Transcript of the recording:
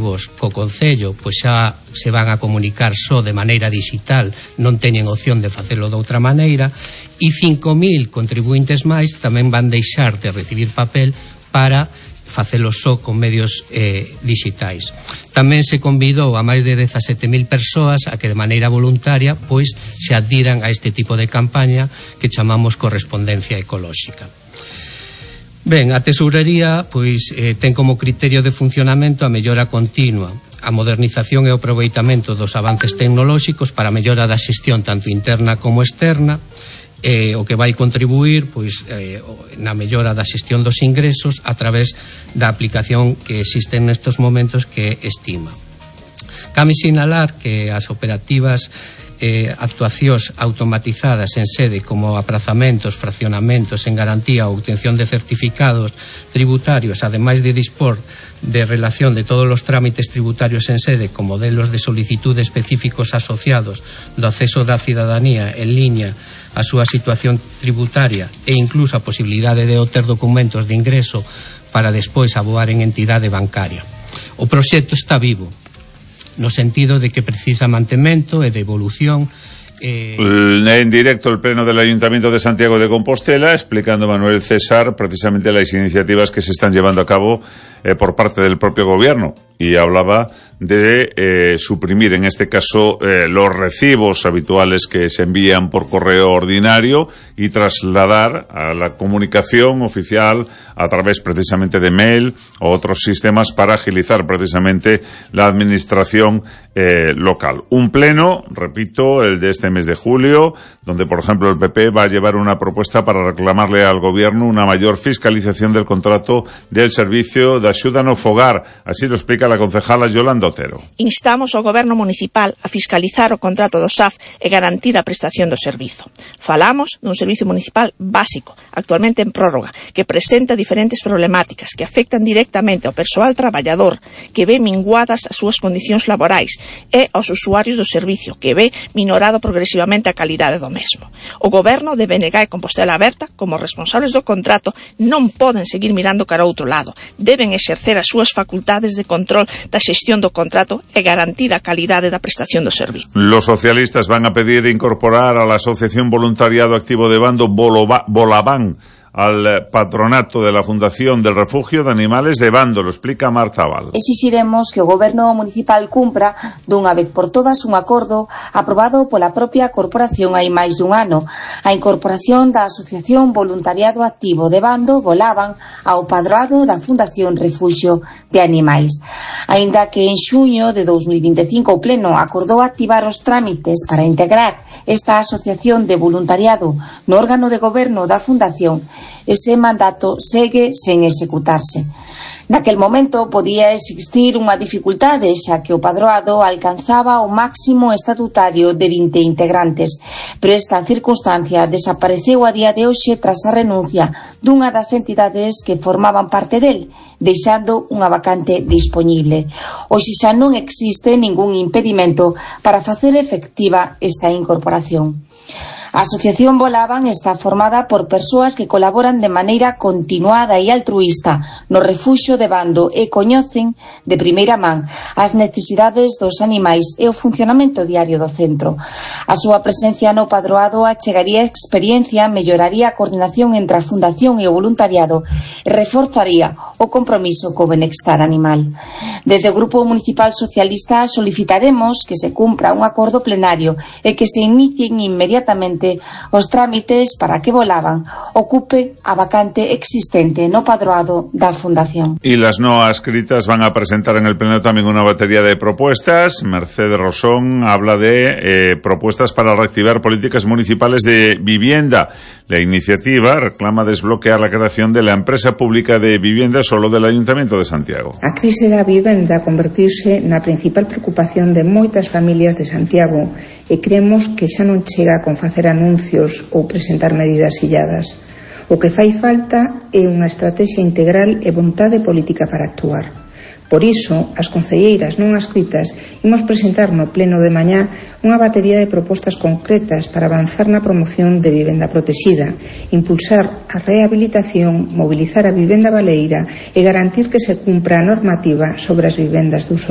efectivos co Concello pois xa se van a comunicar só de maneira digital, non teñen opción de facelo de outra maneira, e 5.000 contribuintes máis tamén van deixar de recibir papel para facelo só con medios digitais. Tamén se convidou a máis de 17.000 persoas a que de maneira voluntaria pois se adhiran a este tipo de campaña que chamamos correspondencia ecolóxica. Ben, a Tesourería pois ten como criterio de funcionamento a mellora continua, a modernización e o aproveitamento dos avances tecnolóxicos para a mellora da xestión tanto interna como externa, o que vai contribuir pois na mellora da xestión dos ingresos a través da aplicación que existe nestes momentos, que é Estima. Cabe sinalar que as operativas actuacións automatizadas en sede como aprazamentos, fraccionamentos en garantía ou obtención de certificados tributarios, ademais de dispor de relación de todos os trámites tributarios en sede con modelos de solicitud específicos asociados do acceso da cidadanía en liña a súa situación tributaria e incluso a posibilidade de obter documentos de ingreso para despois aboar en entidade bancaria. O proxecto está vivo, no sentido de que precisa mantemento e de evolución. En directo el Pleno del Ayuntamiento de Santiago de Compostela, explicando Manuel César precisamente las iniciativas que se están llevando a cabo por parte del propio gobierno, y hablaba de suprimir en este caso los recibos habituales que se envían por correo ordinario y trasladar a la comunicación oficial a través precisamente de mail o otros sistemas para agilizar precisamente la administración local. Un pleno, repito, el de este mes de julio, donde por ejemplo el PP va a llevar una propuesta para reclamarle al gobierno una mayor fiscalización del contrato del servicio de axuda no fogar. Así lo explica la concejala Yolanda Otero. Instamos ao Goberno Municipal a fiscalizar o contrato do SAF e garantir a prestación do servizo. Falamos dun servizo municipal básico, actualmente en prórroga, que presenta diferentes problemáticas que afectan directamente ao persoal traballador, que ve minguadas as súas condicións laborais, e aos usuarios do servicio, que ve minorado progresivamente a calidade do mesmo. O Goberno de BNG e Compostela Aberta, como responsables do contrato, non poden seguir mirando cara a outro lado. Deben exercer as súas facultades de control da xestión do contrato e garantir a calidade da prestación do servicio. Los socialistas van a pedir incorporar a la Asociación Voluntariado Activo de Bando Bolaván al patronato de la Fundación del Refugio de Animales de Bando, lo explica Marta Val. Exixiremos que o Goberno Municipal cumpra dunha vez por todas un acordo aprobado pola propia corporación hai máis dun ano, a incorporación da Asociación Voluntariado Activo de Bando Bolaván ao padroado da Fundación Refugio de Animais. Aínda que en xuño de 2025 o Pleno acordou activar os trámites para integrar esta asociación de voluntariado no órgano de goberno da Fundación, ese mandato segue sen executarse. Naquel momento podía existir unha dificultade, xa que o padroado alcanzaba o máximo estatutario de 20 integrantes, pero esta circunstancia desapareceu a día de hoxe tras a renuncia dunha das entidades que formaban parte del, deixando unha vacante dispoñible. Hoxe xa non existe ningún impedimento para facer efectiva esta incorporación. A Asociación Bolaván está formada por persoas que colaboran de maneira continuada e altruísta no refuxio de Bando e coñecen de primeira man as necesidades dos animais e o funcionamento diario do centro. A súa presencia no padroado achegaría experiencia, melloraría a coordinación entre a Fundación e o voluntariado e reforzaría o compromiso co benestar animal. Desde o Grupo Municipal Socialista solicitaremos que se cumpra un acordo plenario e que se inicien inmediatamente os trámites para que Bolaván ocupe a vacante existente no padroado da Fundación. Y las no adscritas van a presentar en el Pleno también una batería de propuestas. Mercedes Rosón habla de propuestas para reactivar políticas municipales de vivienda. La iniciativa reclama desbloquear la creación de la empresa pública de vivienda solo del Ayuntamiento de Santiago. A crise da vivenda convertirse na principal preocupación de moitas familias de Santiago e creemos que xa non chega con facer anuncios ou presentar medidas illadas. O que fai falta é unha estratexia integral e vontade política para actuar. Por iso, as concelleiras non adscritas imos presentar no pleno de mañá unha batería de propostas concretas para avanzar na promoción de vivenda protexida, impulsar a rehabilitación, mobilizar a vivenda baleira e garantir que se cumpra a normativa sobre as vivendas de uso